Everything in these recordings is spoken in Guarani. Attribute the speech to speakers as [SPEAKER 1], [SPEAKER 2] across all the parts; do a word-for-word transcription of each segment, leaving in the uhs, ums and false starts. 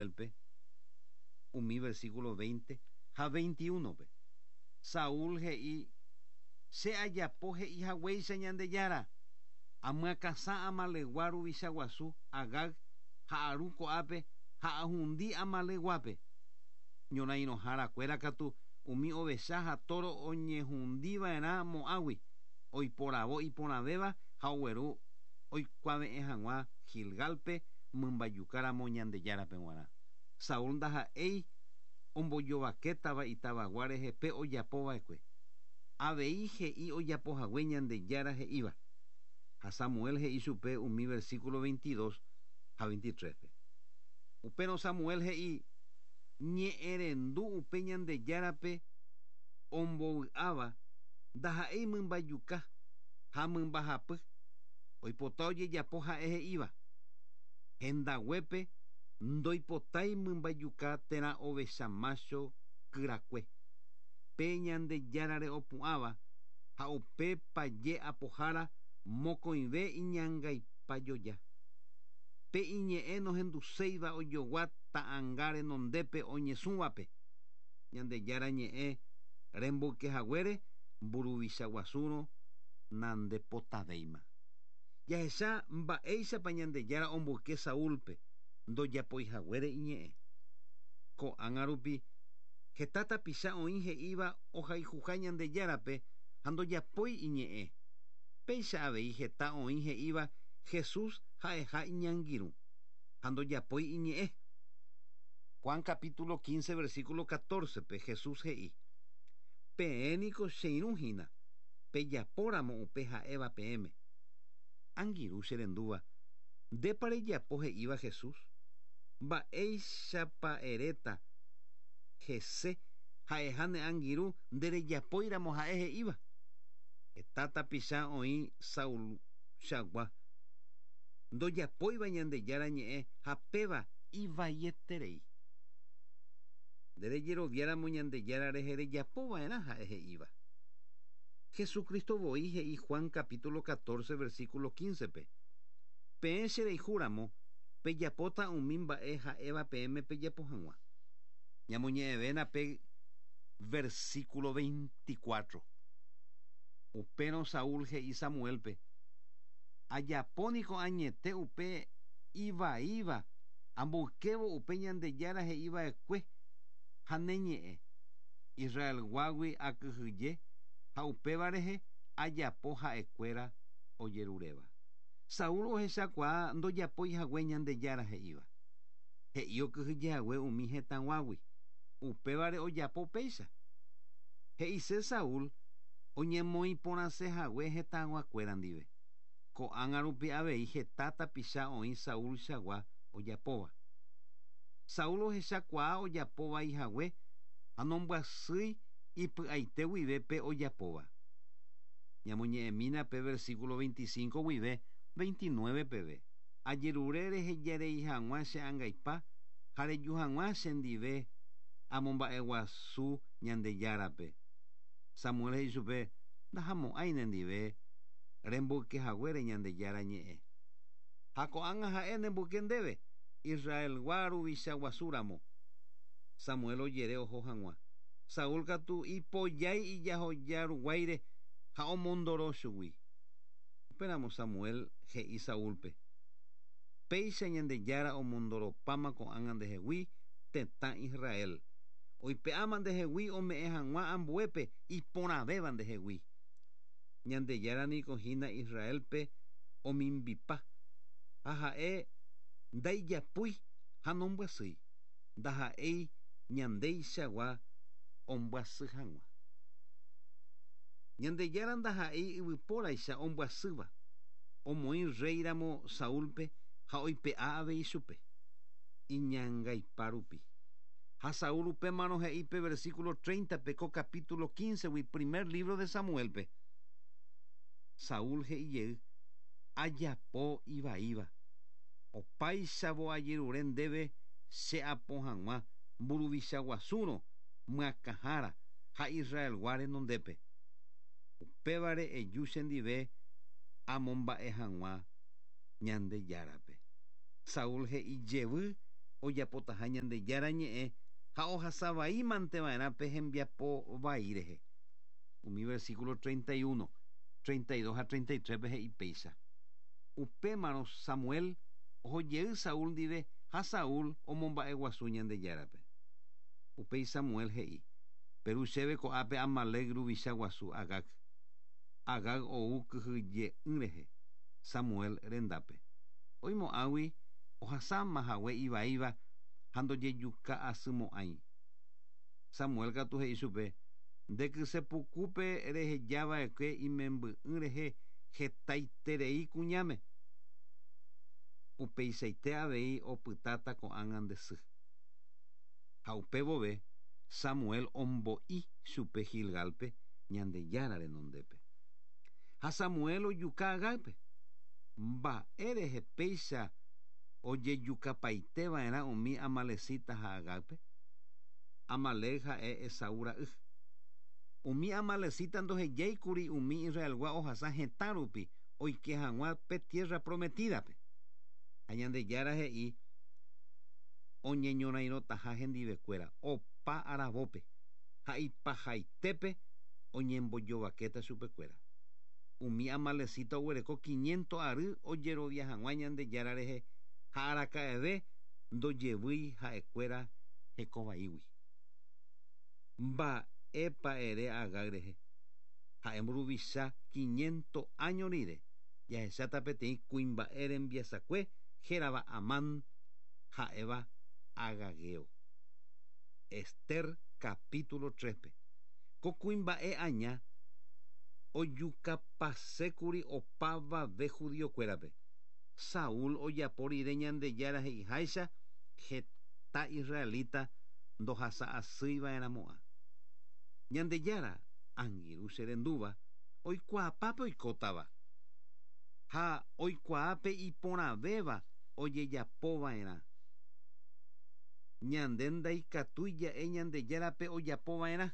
[SPEAKER 1] Samuelpe umi versículo veinte ha veintiuno-pe. Saúl he'i che ajapo he'ihaguéicha Ñandejára amyakãsã Amaleqgua ruvicha guasu Agag ha aru ko'ápe ha ahundi Amaleqguápe. Ñorairõharakuéra katu umi ovecha ha toro oñehundiva'erã mo'ãgui oiporavo iporãvéva ha ogueru oikuave'ẽ hag̃ua Gilgalpe mymbajukáramo Ñandejárape g̃uarã. Saúl ndaha'éi ombojovakétava itavagua rehe pe ojapova'ekue. Avei he'i ojapohague Ñandejára he'íva. Ha Samuel he'i chupe umi versículo veintidós ha veintitrés-pe. Upérõ Samuel he'i ñe'ẽrendu upe Ñandejárape ombovy'áva ndaha'éi mymbajuka ha mymbahapy oipota ojejapo ha'e he'íva. Hendaguépe ndoipotái mymbajuka térã ovecha mácho kyrakue. Pe Ñandejárare opu'ãva ha upe paje apohára mokõive iñangaipajoja. Pe iñe'ẽ nohenduséiva ojogua ta'ãnga renondépe oñesũvape. Ñandejára ñe'ẽ remboykehaguére mburuvicha guasúrõ nandepotavéima. Jahecha mba'éichapa Ñandejára omboyke Saúlpe ndojapoihaguére iñe'ẽ. Ko'ág̃a rupi heta tapicha oĩ he'íva ohayhuha Ñandejárape ha ndojapói iñe'ẽ. Péicha avei heta oĩ he'íva Jesús ha'eha iñangirũ ha ndojapói iñe'ẽ. Juan capítulo quince versículo catorce-pe Jesús he'i peẽ niko cheirũ hína pejapóramo upe ha'éva peẽme. Angirũ cherendúva ndépa rejapo he'íva Jesús mba'éichapa eréta hese ha'eha ne angirũ nderejapóiramo ha'e he'íva. Heta tapicha oĩ Saulchagua ndojapóiva Ñandejára ñe'ẽ ha péva ivaieterei. Nderejeroviáramo Ñandejára rehe rejapova'erã ha'e he'íva. Jesucristo voi he'i Juan capítulo catorce versículo quince-pe. Peẽ cherayhúramo pejapóta umi mba'e ha'éva peẽme pejapo hag̃ua. Ñamoñe'ẽvéna pe versículo veinticuatro. Upérõ Saúl he'i Samuelpe ajapóniko añete upe ivaíva amboykévo upe Ñandejára he'iva'ekue ha ne ñe'ẽ. Israelguágui akyhyje ha upéva rehe ajapo ha'ekuéra ojeruréva. Saúl ohechakuaa ndojapóihague Ñandejára he'íva. He'i okyhyjehague umi hetãguágui. Upévare ojapo péicha. He'ise Saúl oñemoĩporãsehague hetãguakuéra ndive. Ko'ág̃a rupi avei heta tapicha oĩ Saulchagua ojapóva. Saúl ohechakuaa ojapovaihague ha nombyasýi ipy'aite guive pe ojapóva. Ñamoñe'ẽmína pe versículo veinticinco guive veintinueve peve. Ajerure rehejarei hag̃ua che angaipa ha reju hag̃ua chendive amomba'eguasu Ñandejárape. Samuel he'i chupe ndahamo'ãi nendive remboykehaguére Ñandejára ñe'ẽ. Ha ko'ág̃a ha'e nemboyke ndéve Israelgua ruvicha guasúramo. Samuel ojere oho hag̃ua. Saúl katu ipojái ijahoja ruguáire ha omondoro chugui. Upéramo Samuel he'i Saúlpe péicha Ñandejára omondoropáma ko'ág̃a ndehegui tetã Israel. Oipe'áma ndehegui ome'ẽ hag̃ua ambuépe iporãvéva ndehegui. Ñandejára niko hína Israelpe omimbipa ha ha'e ndaijapúi ha nombyasýi. Ndaha'éi ñandeichagua ombyasy hag̃ua. Ñandejára ndaha'éi yvypóraicha ombyasýva. Omoĩ réiramo Saúlpe ha oipe'a avei chupe iñangaipa rupi. Ha Saúl upémarõ he'i pe versículo treinta-pe ko capítulo quince-gui primer libro de Samuelpe. Saúl he'ijey ajapo ivaíva. Opáichavo ajerure ndéve che apo hag̃ua mburuvicha guasúrõ myakãhára ha Israelgua renondépe. Upévare eju chendive amomba'e hag̃ua Ñandejárape. Saúl he'i jevy Ojapotaha Ñandejára ñe'ẽ ha ohasavai manteva'erã pe hembiapo vai rehe. Umi versículo treinta y uno, treinta y dos ha treinta y tres pe he'i péicha. Upémarõ Samuel ohojey Saúl ndive ha Saúl omomba'eguasu Ñandejárape. Upéi Samuel he'i: Peru chéve ko'ápe Amalec ruvicha guasu Agag. Agag ou kyhyje'ỹ rehe Samuel rendápe. Oimo'ãgui ohasáma hague ivaíva ha ndojejuka'asymo'ãi. Samuel katu he'i chupe: Nde kysepukupe rehejava'ekue imemby'ỹ rehe hetaiterei kuñáme. Upeichaite avei opytáta ko'ág̃a nde sy. Ha upe vove Samuel ombo'i chupe Gilgalpe Ñandejára renondépe. Ha Samuel ojuka Agágpe. Mba'e rehe péicha ojejukapaiteva'erã umi amalecita ha Agágpe. Amalec ha'e Esaú ra'y. Umi amalecita ndohejáikuri umi Israelgua ohasa hetã rupi oike hag̃ua pe tierra prometidape. Ha Ñandejára he'i oñeñorairõtaha hendivekuéra opa aravópe ha ipahaitépe oñembojovakéta chupekuéra. Umi amalecita oguereko quinientos ary ojerovia hag̃ua Ñandejára rehe ha araka'eve ndojevýi ha'ekuéra hekovaígui. Mba'épa ere Agag rehe. Ha'e mburuvicha quinientos año rire jahecháta peteĩ kuimba'e rembiasakue hérava Amán ha'éva Agageo. Ester capítulo tres-pe. Ko kuimba'e aña ojukapasékuri opavave judiokuérape. Saúl ojapo rire Ñandejára he'iháicha heta israelita ndohasa'asýiva'erãmo'ã. Ñandejára angirũ che rendúva oikuaapápe oikótava ha oikuaápe iporãvéva ojejapova'erã. Ñande ndaikatúi ja'e Ñandejárape ojapova'erã.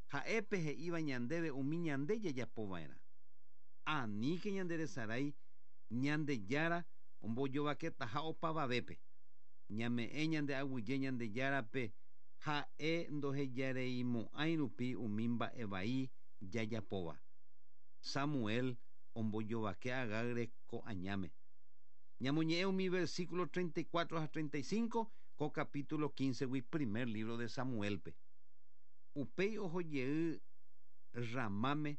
[SPEAKER 1] Ha'épe he'íva ñandéve umi ñande jajapova'erã. Aníke ñanderesarái Ñandejára ombojovaketaha opavavépe. Ñame'ẽ ñande aguyje Ñandejárape ha'e ndohejareimo'ãi rupi umi mba'e vai jajapóva. Samuel ombojovake Agag reko añáme. Ñamoñe'ẽ umi versículo treinta y cuatro ha treinta y cinco ko capítulo quince-gui primer libro de Samuelpe. Upéi ohojey Ramáme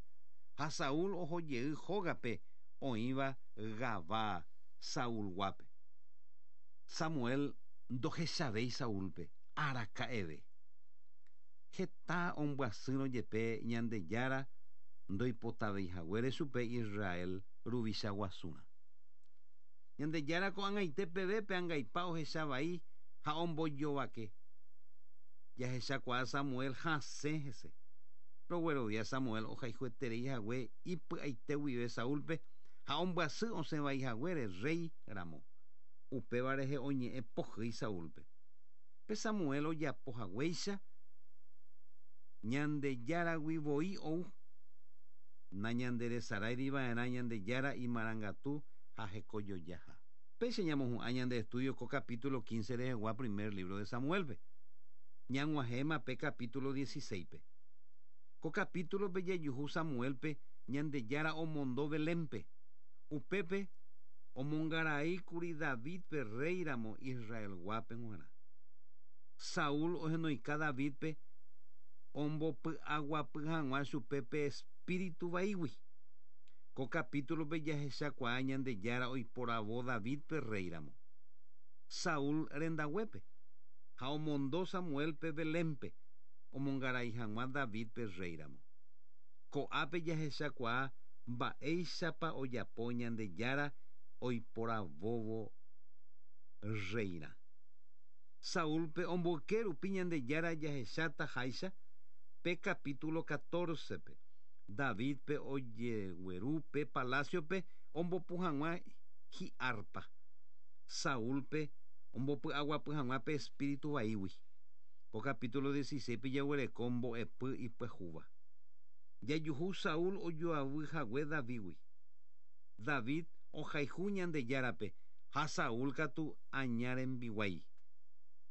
[SPEAKER 1] ha Saúl ohojey hógape oĩva Gabaa Saulguápe. Samuel ndohechavéi Saúlpe araka'eve. Heta ombyasýrõ jepe Ñandejára ndoipotaveihaguére chupe Israel ruvicha guasúrã. Ñandejára ko'ag̃aite peve pe angaipa ohechavai ha ombojovake. Jahechakuaa Samuel hasẽ hese. Roguerovia Samuel ohayhueterei hague ipy'aite guive Saúlpe ha ombyasy osẽvaihaguére rey ramo. Upéva rehe oñe'ẽ pohýi Saúlpe. Pe Samuel ojapo haguéicha Ñandejáragui voi ou. Nañanderesaráiriva'erã Ñandejára imarangatu ha hekojojaha. Péicha ñamohu'ã ñande estudio ko capítulo quince rehegua primer libro de Samuelpe. Ñag̃uahẽma pe capítulo dieciséis-pe. Ko capítulo-pe jajuhu Samuelpe Ñandejára omondo Belénpe. Upépe omongaraíkuri Davidpe rey ramo Israelguápe g̃uarã. Saúl ohenoika Davidpe ombopy'aguapy hag̃ua chupe pe espíritu vaígui. Ko capítulo-pe jahechakuaa Ñandejára oiporavo Davidpe rey ramo. Saúl rendaguépe ha omondo Samuelpe Belénpe omongarai hag̃ua Davidpe rey ramo. Ko'ápe jahechakuaa mba'éichapa ojapo Ñandejára oiporavóvo reirã. Saúlpe omboyke rupi Ñandejára jahecháta háicha pe capítulo catorce-pe. Davidpe ojegueru pe palaciope ombopu hag̃ua hi'arpa. Saúlpe ombopy'aguapy hag̃ua pe espíritu vaígui. Ko capítulo dieciséis-pe jaguereko mbo'epy ipyahúva. Jajuhu Saúl ojoavy hague Davidgui. David ohayhu Ñandejárape ha Saúl katu aña rembiguái.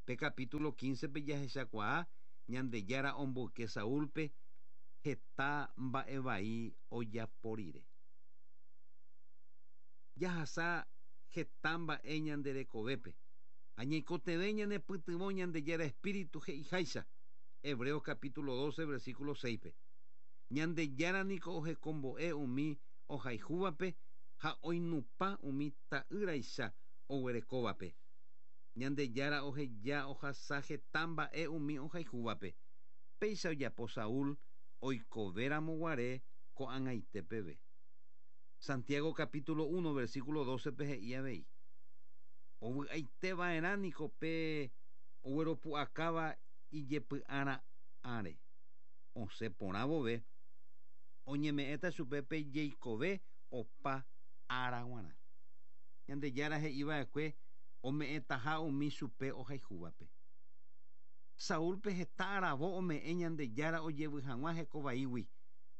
[SPEAKER 1] Pe capítulo quince pe jahechakuaa Ñandejára omboyke Saúlpe heta mba'e vai ojapo rire. Jahasa heta mba'e ñanderekovépe. Añeikotevẽ ñanepytyvõ Ñandejára Espíritu he'iháicha. Hebreos capítulo doce versículo seis pe. Ñandejára niko ohekombo'e umi ohayhúvape ha oinupã umi ta'ýraicha oguerekóvape. Ñandejára oheja ohasa heta mba'e umi ohayhúvape. Péicha ojapo Saúl oikovéramo guare ko'ag̃aite peve. Santiago capítulo uno versículo doce pe he'i avei. Ovy'aiteva'erã niko pe ogueropu'akáva ijepy'ara'ãre. Osẽ porã vove oñeme'ẽta chupe pe jeikove opa ára g̃uarã. Ñandejára he'iva'ekue ome'ẽtaha umi chupe ohayhúvape. Saúlpe heta aravo ome'ẽ Ñandejára ojevy hag̃ua hekovaígui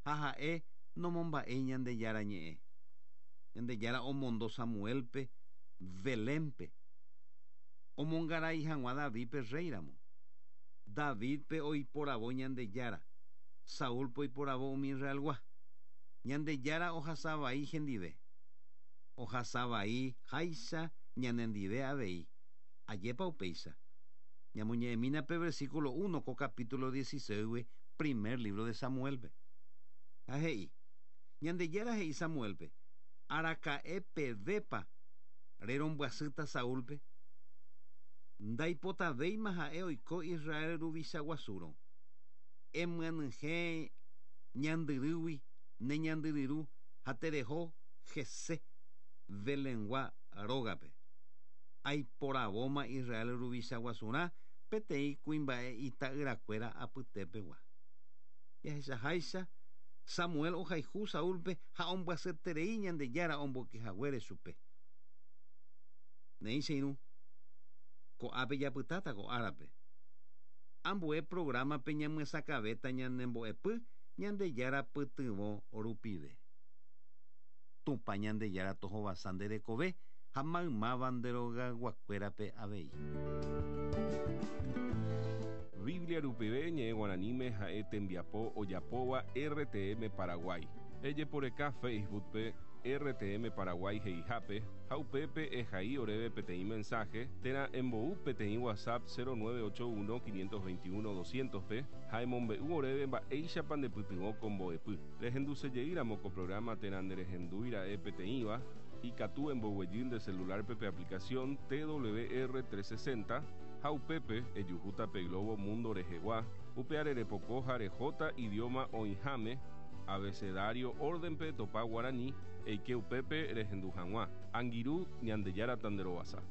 [SPEAKER 1] ha ha'e nomomba'éi Ñandejára ñe'ẽ. Ñandejára omondo Samuelpe Belénpe omongarai hag̃ua Davidpe réiramo. Davidpe oiporavo Ñandejára, Saúlpe oiporavo umi Israelgua. Ñandejára ohasavai hendive. Ohasavai háicha ñanendive avei. Ajépa upéicha. Ñamoñe'ẽmína pe versículo uno ko capítulo dieciséis primer libro de Samuelpe. Ha he'i. Ñandejára he'i Samuelpe. Araka'e pevépa rerombyasýta Saúlpe. Ndaipotavéima ha'e oiko Israel ruvicha guasúrõ. Emyanyhẽ ñandyrýgui ne ñandyryru ha tereho Jesé Belengua rógape. Aiporavóma Israel ruvicha guasurã peteĩ kuimba'e ita'yrakuéra apytépegua. Jahechaháicha Samuel ohayhu Saúlpe ha ombyasyeterei Ñandejára omboykehaguére chupe. Néi che irũ ko'ápe japytáta ko árape. Ambue programa-pe ñamyesakãvéta ñanembo'epy Ñandejára pytyvõ rupive. Tupã Ñandejára tohovasa nde rekove ha maymáva nde rogayguakuérape avei.
[SPEAKER 2] Biblia rupive ñe'ẽ guaraníme ha'e tembiapo ojapóva R T M Paraguay. Ejeporeka Facebookpe R T M Paraguay he'ihápe ha upépe ehai oréve peteĩ mensaje térã embou peteĩ WhatsApp cero nueve ocho uno quinientos veintiuno doscientos pe ha emombe'u oréve mba'éichapa ndepytyvõ ko mbo'epy. Rehendusejeýramo ko programa térã nderehendúira'e peteĩva ikatu emboguejy nde celularpe pe aplicación T W R trescientos sesenta ha upépe ejuhúta pe Globo Mundo rehegua upe arerepoko ha rehóta idioma oĩháme abecedario órdenpe topa guarani eike upépe rehendu hag̃ua. Angirũ Ñandejára tanderovasa.